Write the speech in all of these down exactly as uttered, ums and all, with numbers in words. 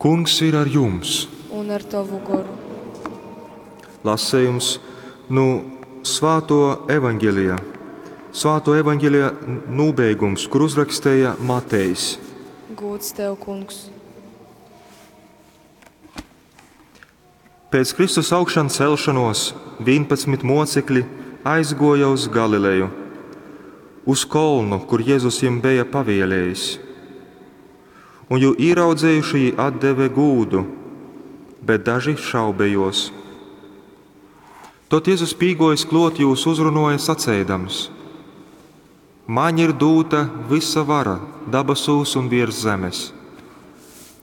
Kungs ir ar jums! Un ar tovu goru. Lasejums nu Svātuo Evangelija. Svātuo Evangelija nūbeigums, kur uzrakstēja Matejs. Gūds tev, Kungs! Pēc Kristus augšan celšanos vīnpadsmit mocekļi aizguoja uz Galileju, uz kolnu, kur Jezus jim beja pavielējis. Un jū īraudzējuši jī atdeve gūdu, bet daži šaubējos. Tod Jezus pīgojis klot jūs uzrunoja saceidams: Maņ ir dūta vysa vara dabasūs un viers zemes.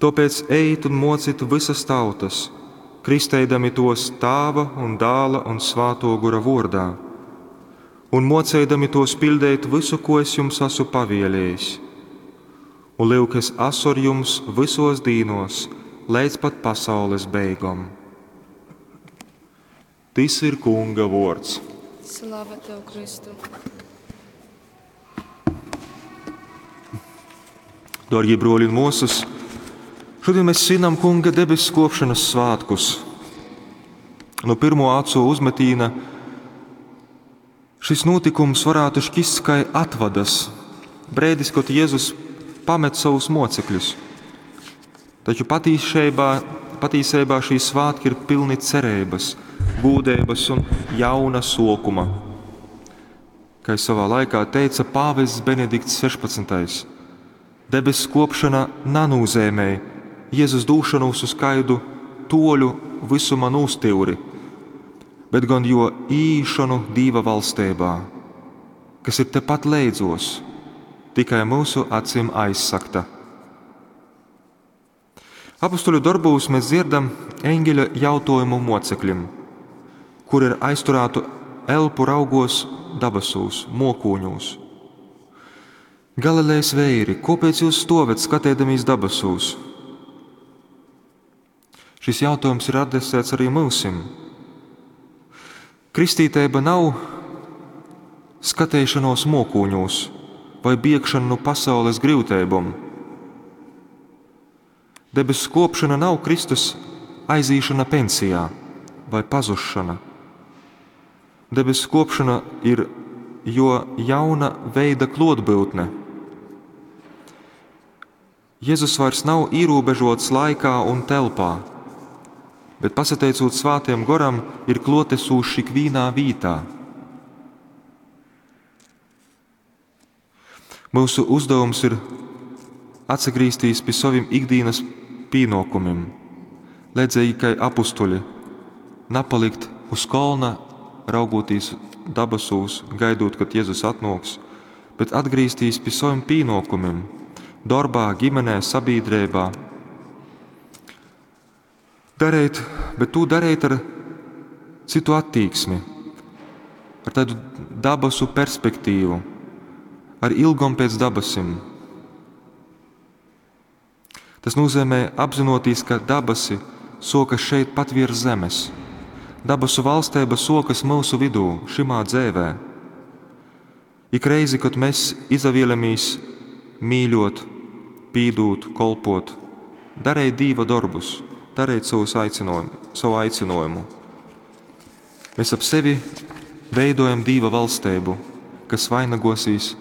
Tōpēc ejit un mocit vysas tautas, kristeidami tos Tāva un Dāla un Svāto Gora vuordā, un moceidami tos piļdeit vysu, ko es jums asu pavieliejis. Un lyuk, es asu ar jums vysos dīnos, leidz pat pasaules beigom. Tys ir Kunga vuords. Slava tev, Kristu! Dārgie broļi un mosas, šodien mēs svinam Kunga debesu kopšanas svētkus. No pirmo acu uzmetīna šis notikums varētu šķist kā atvadas, brēdis, kad Jēzus pamet savus mocekļus. Taču patīšeibā, patīseibā šī svētki ir pilni cerības, gūdības un jauna sokuma. Kā savā laikā teica pāvests Benedikts sešpadsmitais, debesu kopšana nanūzēmē Jēzus dūšanos uz kaidu toļu visuma nūstīvri, bet gan jo īšanu Dīva valstībā, kas ir tepat leidzos, tikai mūsu acim aizsakta. Apustuļu darbūs mēs dzirdam eņģeļa jautājumu mocekļim, kur ir aizturētu elpu raugos dabasūs, mokūņūs. Galilejas veiri, kāpēc jūs stovet skatēdamies dabasūs? Šis jautājums ir adresēts arī mūsim. Kristīteiba nav skatēšanos mokūņūs vai biegšana no pasaules grūtībām. Debesu kopšana nav Kristus aizīšana pensijā vai pazušana. Debesu kopšana ir jo jauna veida klotbūtne. Jēzus vairs nav ierobežots laikā un telpā, bet pasateicot Svētajam Goram, ir klotesūšs ikvienā vītā. Mūsu uzdevums ir atsagrīzties pie saviem ikdienas pienākumiem, ledzīgi kā apustuļi, napalikt uz kolna, raugoties dabasūs, gaidot, kad Jēzus atnāks, bet atgriezties pie saviem pienākumiem, darbā, ģimenē, sabiedrībā. Darīt, bet to darīt ar citu attieksmi, ar tādu dabasu perspektīvu, ar ilgom pēc dabasim. Tas nozīmē apzinoties, ka dabasi sokas šeit pat virs zemes. Dabasu valstība sokas mūsu vidū, šimā dzēvē. Ik reizi, kad mēs izavielamies mīļot, pīdūt, kolpot, darīt Dīva darbus, darīt savus aicinājumu, savu aicinājumu. Mēs ap sevi veidojam Dīva valstību, kas vainagosīs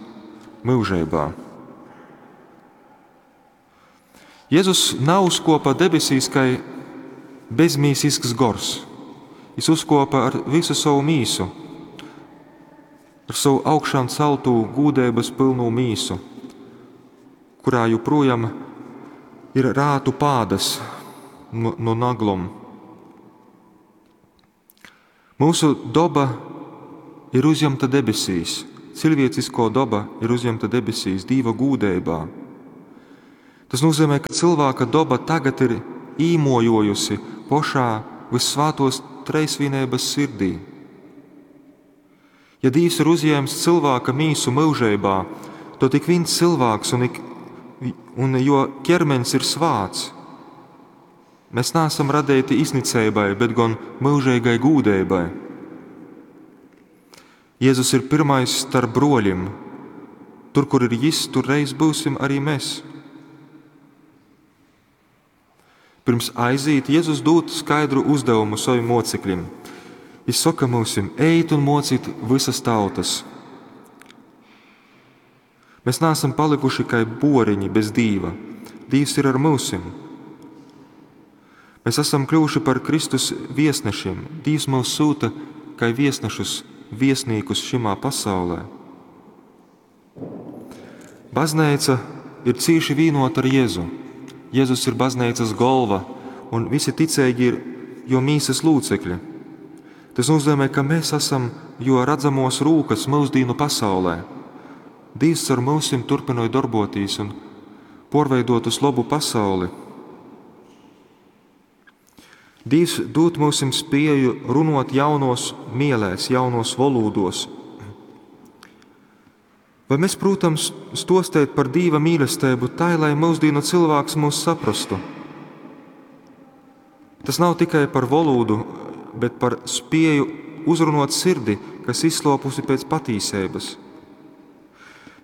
mūžībā. Jēzus nav uzkopa debesīs kā bezmīsisks gors. Viņš uzkopa ar visu savu mīsu, ar savu augšām celtū gūdības pilnu mīsu, kurā joprojām ir rātu pādas no, no naglom. Mūsu doba ir uzņemta debesīs, cilvēcisko doba ir uzņemta debesīs, Dīva gūdībā. Tas nozīmē, ka cilvēka doba tagad ir īmojojusi pošā vissvātos treisvienības sirdī. Ja Dievs ir uzņēmis cilvēka mīsu mūžībā, tad ik viens cilvēks un, ik, un jo ķermenis ir svāts. Mēs neesam radīti iznicībai, bet gan mūžīgai gūdībai. Jēzus ir pirmais starp broļiem. Tur, kur ir jis, tur reiz būsim arī mēs. Pirms aizīt, Jezus dūd skaidru uzdevumu savim mocekļiem. Jis soka myusim, ejit un mocit vysas tautas. Mēs neesam palikuši kai boriņi bez Dīva. Dīvs ir ar myusim. Mēs esam kļuvuši par Kristus viesnešiem. Dīvs mūs sūta kai viesnešus, viesnīkus šimā pasaulē. Baznīca ir cīši vīnota ar Jēzu. Jēzus ir baznīcas galva, un visi ticīgi ir jo mīsas lūcekļi. Tas nozīmē, ka mēs esam jo redzamos rūkas mūsdīnu pasaulē. Dīvs ar mūsim turpinoja darbotīs un porveidot uz labu pasauli. Dīvs dod mūsim spēju runot jaunos mielēs, jaunos volūdos. Vai mēs, protams, stostēt par Dīva mīlestību tā, lai mūsdīnu cilvēks mūs saprastu? Tas nav tikai par valodu, bet par spēju uzrunot sirdi, kas izslopusi pēc patīsības.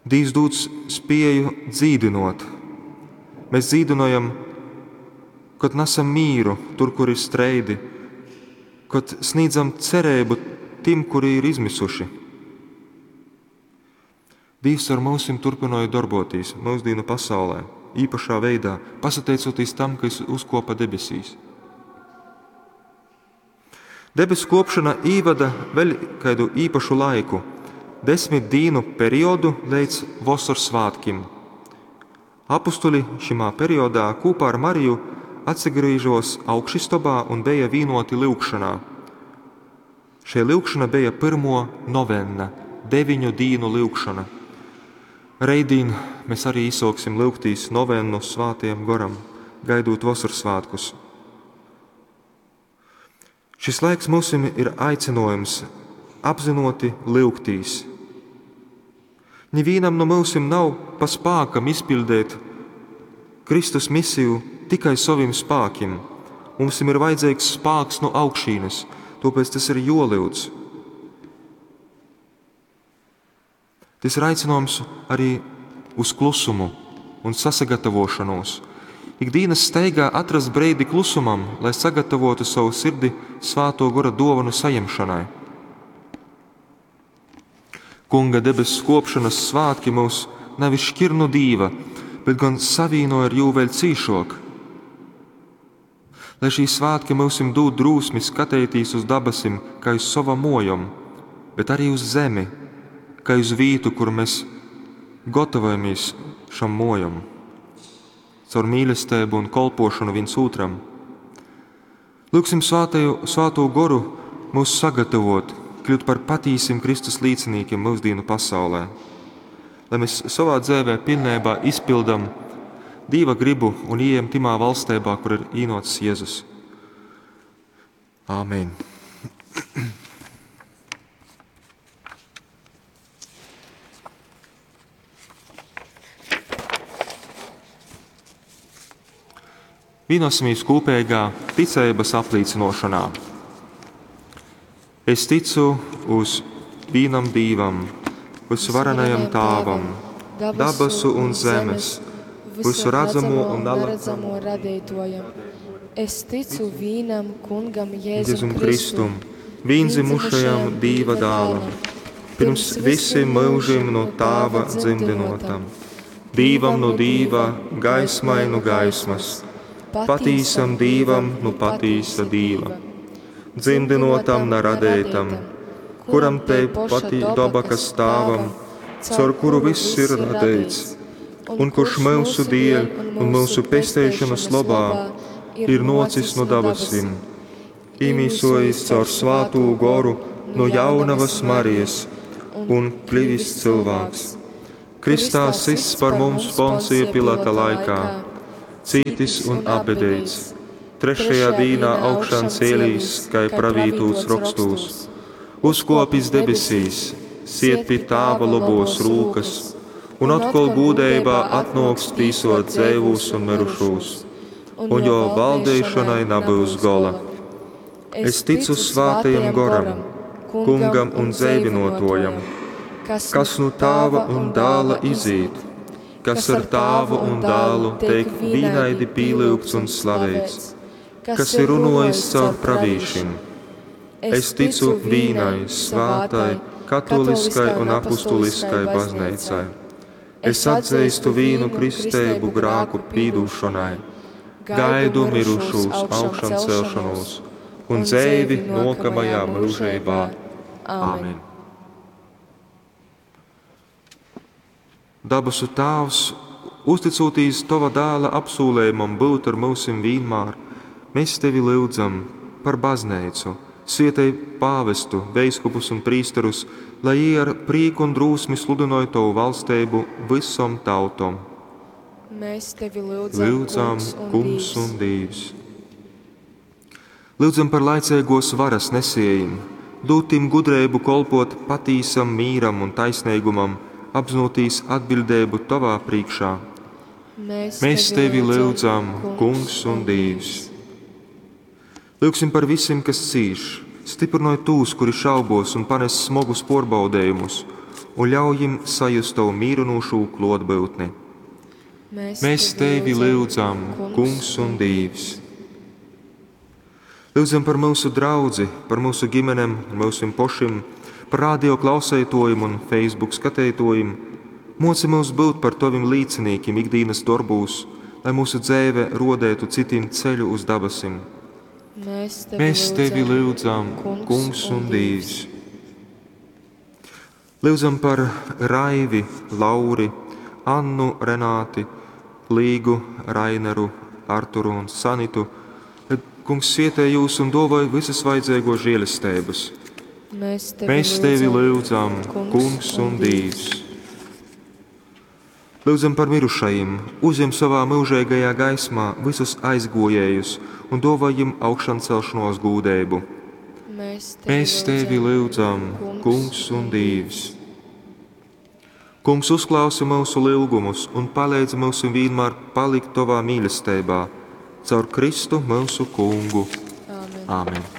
Dīvs dod spēju dzīdinot. Mēs dzīdinojam, kad nesam mīru tur, kur ir streidi, kad sniedzam cerību tiem, kuri ir izmisuši. Dīvs ar mūsim turpināja darboties mūsdīnu pasaulē, īpašā veidā, pasateicoties tam, ka es uzkopa debesīs. Debesu kopšana īvada vēl kādu īpašu laiku, desmit dīnu periodu līdz vasaras svētkiem. Apustuļi šimā periodā kopā ar Mariju atsagrīžos augšistobā un bija vīnoti lyugšanā. Šie lyugšana bija pirmo novenna, deviņu dīnu lyugšana. Reidīn mēs arī īsoksim lyugtīs novennu svātiem goram, gaidot vasaras svētkus. Šis laiks mums ir aicinājums apzinoti lyugtīs. Nevienam no mūsim nav pa spākam izpildīt Kristus misiju tikai saviem spākiem. Mums ir vajadzīgs spāks no augšīnes, tāpēc tas ir jolūdz. Tas ir aicinājums arī uz klusumu un sasagatavošanos. Ikdienas steigā atrast breidi klusumam, lai sagatavotu savu sirdi svāto gora dovanu saņemšanai. Kunga debesu kopšanas svētki mūs nevis šķir no Dīva, bet gan savīno ar jū vēl cīšok. Lai šī svētki mūsim dod drūsmi skatīties uz dabasim, kā uz savam mojam, bet arī uz zemi, kā uz vītu, kur mēs gatavojamies šam mojam, caur mīlestību un kolpošanu viens otram. Lūksim svētaju, svēto goru mūs sagatavot, kļūt par patīsim Kristus līdzinīkiem mūsdīnu pasaulē, lai mēs savā dzīvē pilnībā izpildam Dīva gribu un ieejam timā valstībā, kur ir īnots Jēzus. Āmen. Vienosimies kopīgā ticības apliecinošanā. Es ticu uz vienam Dīvam, visvarenajam Tāvam, dabasu un zemes, visu redzamo un neredzamo radītojam. Es ticu vīnam kungam Jēzum Jēzum Kristum, vīndzimušajam Dīva dālam, pirms visiem mūžiem no Tāva dzimdinotam, Dīvam no Dīva, gaismai no gaismas, patīsam Dīvam no patīsa Dīva, dzimdinotam na radētam, kuram te pati doba, kas stāvam, caur kuru viss ir radēts, un kurš mūsu dieļ un mūsu pestēšanas labā ir nocis no dabasim, īmīsojis caur svātū goru no jaunavas Marijas un kļuvis cilvēks. Kristā sists par mums Poncija Pilata laikā, cītis un apbedīts, trešajā dīnā augšām cēlīs, kai pravītūts rokstūs, uzkopis debesīs, siet pie tāva lobos rūkas, un atkal gūdējībā atnoks tīsot dzēvūs un mirušūs, un jo valdīšanai nebūs gola. Es ticu svātajam goram, kungam un dzēvinotojam, kas nu tāva un dāla izīt, kas ar tāvu un dālu teik vīnaidi pīlūgts un slavēts, kas ir runojis caur pravīšim. Es ticu vīnai svātai, katoliskai un apustuliskai bazneicai. Es atzīstu vīnu kristeibu grāku pīdūšonai, gaidu mirušūs augšancelšanos un dzeivi nākamajā mūžībā. Āmen! Dabasu Tāvs, uzticotīs Tova dēla apsūlējumam būt ar mūsim vienmēr, mēs Tevi lyudzam par bazneicu, svietej pāvestu, veiskupus un prīsterus, lai jī ar prīku un drūsmi sludinoj Tovu valstību visom tautom. Mēs Tevi lyudzam, Lyudzam, Kungs un Kungs Dievs. un Dievs. Lyudzam par laicīgos varas nesējiem, dūt tim gudrību kolpot patīsam mīram un taisnīgumam, apzinoties atbildību Tavā priekšā. Mēs, Mēs Tevi lyudzam, Kungs un Dievs. Lūgsim par visiem, kas cīš, stiprinoj tos, kuri šaubos un panes smagus porbaudējumus, un ļauj viņiem sajust Tavu mīrinošo klātbūtni. Mēs, Mēs Tevi lyudzam, Kungs un Dievs. Lūdzam par mūsu draudzi, par mūsu ģimenēm, mūsim pošim, par radio klausētojiem un Facebook skatētojiem. Moci mūs būt par Tavim līdzinīkiem ikdienas darbūs, lai mūsu dzēve rodētu citiem ceļu uz dabasim. Mēs Tevi, Mēs Tevi lyudzam, Kungs un Dievs. Lūdzam par Raivi, Lauri, Annu, Renāti, Līgu, Raineru, Arturu un Sanitu. Lai Kungs svietē jūs un dāvāj visas vajadzīgo žēlestības. Mēs Tevi, Mēs Tevi lūdzam, Kungs un Dievs. Lūdzam par mirušajiem, uzņem savā mūžīgajā gaismā visus aizgojējus un dāvā viņiem augšancelšanos gūdību. Mēs Tevi, Mēs Tevi lūdzam, Kungs un Dievs. Kungs, uzklausi mūsu lūgumus un palīdzi mums vienmēr palikt Tavā mīlestībā, caur Kristu mūsu Kungu. Āmen. Āmen.